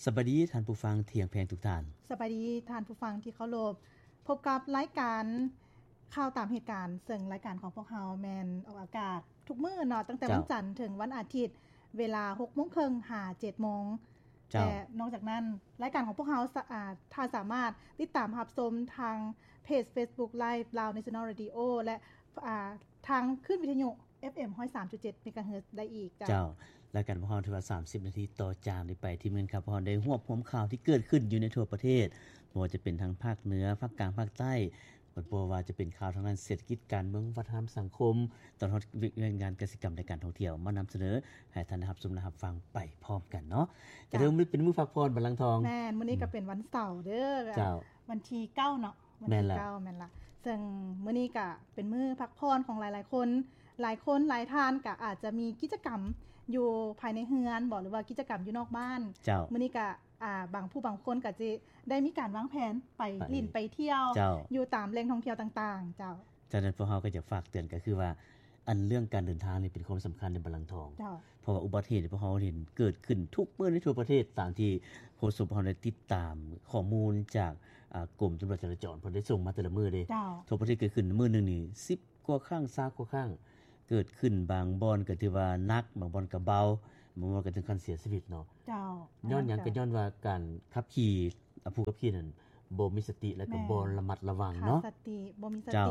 ສະບາຍດີທ່ານຜູ້ຟັງທີ່ຮັກແພງທຸກທ່ານ. ສະບາຍດີທ່ານຜູ້ຟັງທີ່ເຄົາລົບ. ພົບກັບລາຍການຂ່າວຕາມເຫດການ, ເຊິ່ງລາຍການຂອງພວກເຮົາແມ່ນອອກອາກາດທຸກມື້ເນາະ, ຕັ້ງແຕ່ ເຈົ້າ ວັນຈັນເຖິງວັນອາທິດ, ເວລາຫົກໂມງເຄິ່ງຫາເຈັດໂມງ. ເຈົ້າ. ແລະ ນອກຈາກນັ້ນ, ລາຍການຂອງພວກເຮົາສາ ອາ ທ່ານສາມາດຕິດຕາມຮັບຊົມທາງເພຈ Facebook Live ລາວ National Radio ແລະ ອາ ທາງຄື້ນວິທະຍຸ ເອັຟເອັມ ຮ້ອຍສາມຈຸດເຈັດ ເມກາເຮີດ ໄດ້ອີກ. ເຈົ້າ. ເຈົ້າ, ລາຍການພວກເຮົາຖືວ່າສາມສິບນາທີຕໍ່ຈາກນີ້ໄປ ທີ່ມື້ນີ້ພວກເຮົາໄດ້ຮວບຮວມຂ່າວທີ່ເກີດຂຶ້ນຢູ່ໃນທົ່ວປະເທດ, ບໍ່ວ່າຈະເປັນທາງພາກເໜືອ, ພາກກາງ, ພາກໃຕ້, ບໍ່ວ່າຈະເປັນຂ່າວທາງດ້ານເສດຖະກິດ, ການເມືອງ, ວັດທະນະທຳ, ສັງຄົມ, ຕະຫຼອດເຫດການກະສິກຳ ແລະ ການທ່ອງທ່ຽວ ມານຳສະເໜີໃຫ້ທ່ານໄດ້ຮັບຊົມ ແລະ ຮັບຟັງໄປພ້ອມກັນເນາະ. ເຈົ້າ. ກະຖືວ່າມື້ນີ້ເປັນມື້ພັກຜ່ອນ ບັນລັງທອງ. ແມ່ນ, ມື້ນີ້ກະເປັນວັນເສົາເດີ. ເຈົ້າ. ວັນທີເກົ້າເນາະ. ວັນທີເກົ້າ ແມ່ນລະ. ເຊິ່ງມື້ນີ້ກະເປັນມື້ພັກຜ່ອນຂອງຫຼາຍໆຄົນ. ຫຼາຍຄົນຫຼາຍທ່ານກະອາດຈະມີກິດຈະກຳຢູ່ພາຍໃນເຮືອນບໍ ຫຼືວ່າກິດຈະກຳຢູ່ນອກບ້ານ. ເຈົ້າ. ມື້ນີ້ກະ ອາ ບາງຜູ້ບາງຄົນກະຈະໄດ້ມີການວາງແຜນໄປ ໄປຫຼິ້ນໄປທ່ຽວ ເຈົ້າ ຢູ່ຕາມແຫຼ່ງທ່ອງທ່ຽວຕ່າງໆ. ເຈົ້າ. ສະນັ້ນພວກເຮົາກະຢາກຝາກເຕືອນ ກະຄືວ່າ ອັນເລື່ອງການເດີນທາງນີ້ເປັນຄວາມສຳຄັນໃນ ບັນລັງທອງ. ເຈົ້າ. ເພາະວ່າອຸບັດຕິເຫດທີ່ພວກເຮົາເຫັນເກີດຂຶ້ນທຸກມື້ໃນທົ່ວປະເທດ ຕາມທີ່ໂຄສົກເຮົາໄດ້ຕິດຕາມຂໍ້ມູນຈາກ ອາ ກົມຕຳຫຼວດຈະລາຈອນ ເພິ່ນໄດ້ສົ່ງມາແຕ່ລະມື້ເດ້. ເຈົ້າ. ທົ່ວປະເທດເກີດຂຶ້ນມື້ໜຶ່ງນີ້ສິບກວ່າຄັ້ງ ຊາວກວ່າຄັ້ງ, ເກີດຂຶ້ນບາງບ່ອນກະຖືວ່າໜັກ, ບາງບ່ອນກະເບົາ, ບາງບ່ອນກະເຖິງຂັ້ນເສຍຊີວິດເນາະ. ເຈົ້າ. ຍ້ອນຫຍັງ? ກະຍ້ອນວ່າການຂັບຂີ່ ອາ ຜູ້ຂັບຂີ່ນັ້ນບໍ່ມີສະຕິ ແລະກະ ແມ່ນ ບໍ່ລະມັດລະວັງເນາະ. ຂາດສະຕິ, ບໍ່ມີສະຕິ. ເຈົ້າ.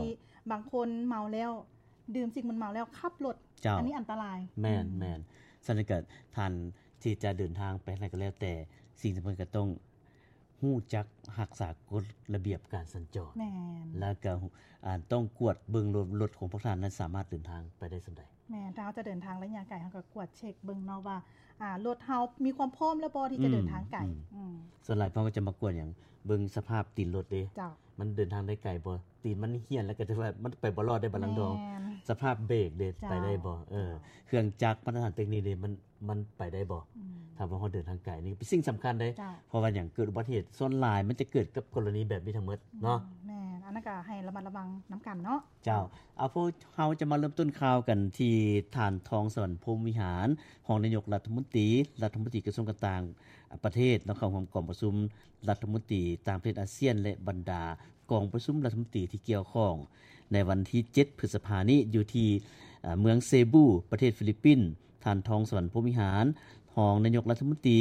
ບາງຄົນເມົາແລ້ວ ດື່ມສິ່ງມຶນເມົາແລ້ວຂັບລົດ. ເຈົ້າ. ອັນນີ້ອັນຕະລາຍ. ແມ່ນ ອືມ ແມ່ນ. ສະນັ້ນກະທ່ານທີ່ຈະເດີນທາງໄປທາງໃດກະແລ້ວແຕ່, ສິ່ງສຳຄັນກະຕ້ອງຮູ້ຈັກຮັກສາກົດລະບຽບການສັນຈອນ. ແມ່ນ. ແລະກະ ອາ ຕ້ອງກວດເບິ່ງລົດ ລົດຂອງພວກທ່ານນັ້ນສາມາດເດີນທາງໄປໄດ້ສ່ຳໃດ. ແມ່ນ, ຖ້າເຮົາຈະເດີນທາງໄລຍະໄກ ເຮົາກະກວດເຊັກເບິ່ງເນາະວ່າ ອາ ລົດເຮົາມີຄວາມພ້ອມແລ້ວບໍ່ທີ່ຈະ ອືມ ເດີນທາງໄກ. ອືມ ອືມ. ສ່ວນຫຼາຍພວກເຮົາກະຈະມາກວດຫຍັງ? ເບິ່ງສະພາບຕີນລົດເດ້. ເຈົ້າ. ມັນເດີນທາງໄດ້ໄກບໍ່? ຕີນມັນຫ້ຽນແລ້ວກະຖືວ່າມັນໄປບໍ່ລອດໄດ້ ບັນລັງທອງ. ແມ່ນ. ສະພາບເບຣກເດ້ ເຈົ້າ ໄປໄດ້ບໍ່? ເອີ ເຈົ້າ. ເຄື່ອງຈັກ ມາດຕະຖານເຕັກນິກເດ້ ມັນ ມັນໄປໄດ້ບໍ່? ອືມ. ຖ້າວ່າເຮົາເດີນທາງໄກນີ້ເປັນສິ່ງສຳຄັນເດ້. ເຈົ້າ. ເພາະວ່າຫຍັງ? ເກີດອຸບັດຕິເຫດສ່ວນຫຼາຍມັນຈະເກີດກັບກໍລະນີແບບນີ້ທັງໝົດເນາະ. ອືມ ແມ່ນ. ອັນນັ້ນກະໃຫ້ລະມັດລະວັງນຳກັນເນາະ. ເຈົ້າ. ເອົາ ພວກເຮົາຈະມາເລີ່ມຕົ້ນຂ່າວກັນທີ່ທ່ານ ທອງສະຫວັນ ພົມວິຫານ ຮອງນາຍົກລັດຖະມົນຕີ ລັດຖະມົນຕີກະຊວງການຕ່າງປະເທດເນາະ ເຂົ້າຮ່ວມກອງປະຊຸມລັດຖະມົນຕີຕ່າງປະເທດອາຊຽນ ແລະ ບັນດາກອງປະຊຸມລັດຖະມົນຕີທີ່ກ່ຽວຂ້ອງ ໃນວັນທີເຈັດ ພຶດສະພານີ້ ຢູ່ທີ່ ເອີ ເມືອງເຊບູ ປະເທດຟີລິບປິນ. ທ່ານ ທອງສະຫວັນ ພົມວິຫານ ຮອງນາຍົກລັດຖະມົນຕີ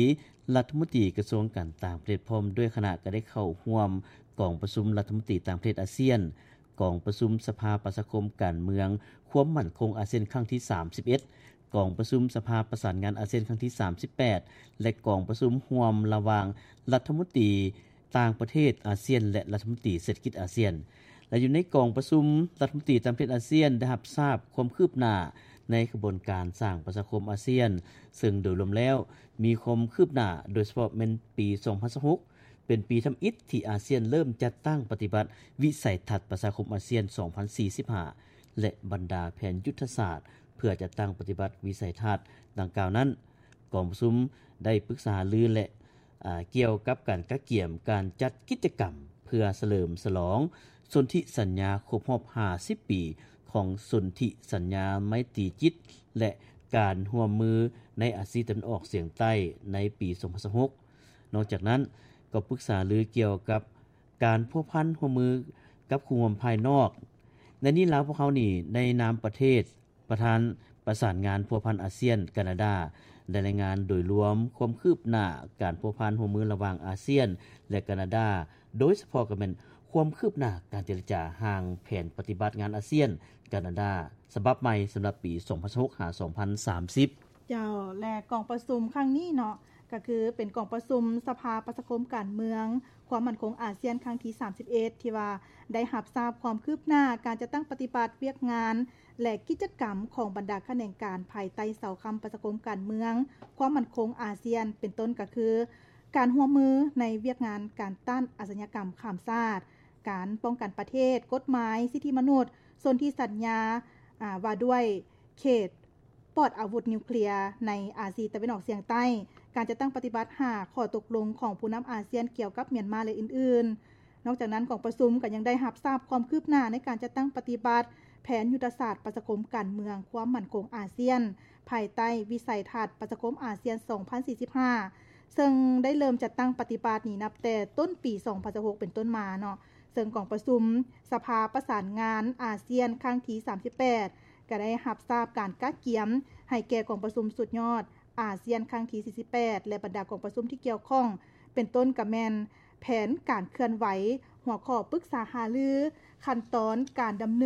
ລັດຖະມົນຕີກະຊວງການຕ່າງປະເທດ ພ້ອມດ້ວຍຄະນະ ກະໄດ້ເຂົ້າຮ່ວມກອງປະຊຸມລັດຖະມົນຕີຕ່າງປະເທດອາຊຽນ, ກອງປະຊຸມສະພາປະຊາຄົມການເມືອງຄວາມໝັ້ນຄົງອາຊຽນຄັ້ງທີສາມສິບເອັດ, ກອງປະຊຸມສະພາປະສານງານອາຊຽນຄັ້ງທີສາມສິບແປດ ແລະ ກອງປະຊຸມຮ່ວມລະຫວ່າງລັດຖະມົນຕີ ຕ່າງປະເທດອາຊຽນ ແລະ ລັດຖະມົນຕີເສດຖະກິດອາຊຽນ. ແລະ ຢູ່ໃນກອງປະຊຸມລັດຖະມົນຕີຕ່າງປະເທດອາຊຽນ ໄດ້ຮັບຊາບຄວາມຄືບໜ້າໃນຂະບວນການສ້າງປະຊາຄົມອາຊຽນ, ເຊິ່ງໂດຍລວມແລ້ວມີຄວາມຄືບໜ້າ, ໂດຍສະເພາະແມ່ນປີສອງພັນຊາວຫົກ ເປັນປີທຳອິດທີ່ອາຊຽນເລີ່ມຈັດຕັ້ງປະຕິບັດວິໄສທັດປະຊາຄົມອາຊຽນສອງພັນສີ່ສິບຫ້າ ແລະ ບັນດາແຜນຍຸດທະສາດເພື່ອຈັດຕັ້ງປະຕິບັດວິໄສທັດດັ່ງກ່າວນັ້ນ. ກອງປະຊຸມໄດ້ປຶກສາຫາລື ແລະ ອາ ກ່ຽວກັບການກະກຽມການຈັດກິດຈະກຳເພື່ອສະເຫຼີມສະຫຼອງສົນທິສັນຍາຄົບຮອບຫ້າສິບປີຂອງສົນທິສັນຍາໄມຕີຈິດ ແລະ ການຮ່ວມມືໃນອາຊີຕາເວັນອອກສຽງໃຕ້ໃນປີສອງພັນຊາວຫົກ. ນອກຈາກນັ້ນ ກໍປຶກສາຫາລືກ່ຽວກັບການພົວພັນຮ່ວມມືກັບຄູ່ຮ່ວມພາຍນອກ. ໃນນີ້ລາວພວກເຮົານີ້ໃນນາມປະເທດ ປະທານປະສານງານພົວພັນອາຊຽນ ການາດາ ໄດ້ລາຍງານໂດຍລວມຄວາມຄືບໜ້າການພົວພັນຮ່ວມມືລະຫວ່າງອາຊຽນ ແລະ ການາດາ, ໂດຍສະເພາະກໍແມ່ນຄວາມຄືບໜ້າການເຈລະຈາຮ່າງແຜນປະຕິບັດງານອາຊຽນ ການາດາ ສະບັບໃໝ່ສຳລັບປີສອງພັນຊາວຫົກ ຫາ ສອງພັນສາມສິບ. ເຈົ້າ ແລະ ກອງປະຊຸມຄັ້ງນີ້ເນາະ ກໍຄືເປັນກອງປະຊຸມສະພາປະຊາຄົມການເມືອງຄວາມໝັ້ນຄົງອາຊຽນຄັ້ງທີສາມສິບເອັດ ທີ່ວ່າໄດ້ຮັບຊາບຄວາມຄືບໜ້າການຈັດຕັ້ງປະຕິບັດວຽກງານ ແລະ ກິດຈະກຳຂອງບັນດາຂະແໜງການພາຍໃຕ້ເສົາຄ້ຳປະຊາຄົມການເມືອງຄວາມໝັ້ນຄົງອາຊຽນ ເປັນຕົ້ນກໍຄື ການຮ່ວມມືໃນວຽກງານການຕ້ານອາຊະຍາກຳຂ້າມຊາດ, ການປ້ອງກັນປະເທດ, ກົດໝາຍສິດທິມະນຸດ, ສົນທິສັນຍາ ອາ ວ່າດ້ວຍເຂດ ປອດອາວຸດນິວເຄລຍໃນອາຊີຕາເວັນອອກສຽງໃຕ້, ການຈັດຕັ້ງປະຕິບັດຫ້າຂໍ້ຕົກລົງຂອງຜູ້ນຳອາຊຽນກ່ຽວກັບມຽນມາ ແລະ ອື່ນໆ. ນອກຈາກນັ້ນ, ກອງປະຊຸມກໍຍັງໄດ້ຮັບຊາບຄວາມຄືບໜ້າໃນການຈັດຕັ້ງປະຕິບັດແຜນຍຸດທະສາດປະຊາຄົມການເມືອງຄວາມໝັ້ນຄົງອາຊຽນ ພາຍໃຕ້ວິໄສທັດປະຊາຄົມອາຊຽນສອງພັນສີ່ສິບຫ້າ ເຊິ່ງໄດ້ເລີ່ມຈັດຕັ້ງປະຕິບັດນີ້ນັບແຕ່ຕົ້ນປີສອງພັນຊາວຫົກເປັນຕົ້ນມາເນາະ, ເຊິ່ງກອງປະຊຸມສະພາປະສານງານອາຊຽນຄັ້ງທີສາມສິບແປດ ກໍໄດ້ຮັບຊາບການກະກຽມໃຫ້ແກ່ກອງປະຊຸມສຸດຍອດອາຊຽນຄັ້ງທີສີ່ສິບແປດ ແລະ ບັນດາກອງປະຊຸມທີ່ກ່ຽວຂ້ອງ ເປັນຕົ້ນກໍແມ່ນແຜນການເຄື່ອນໄຫວ, ຫົວຂໍ້ປຶກສາຫາລື, ຂັ້ນຕອນການດຳເນີນ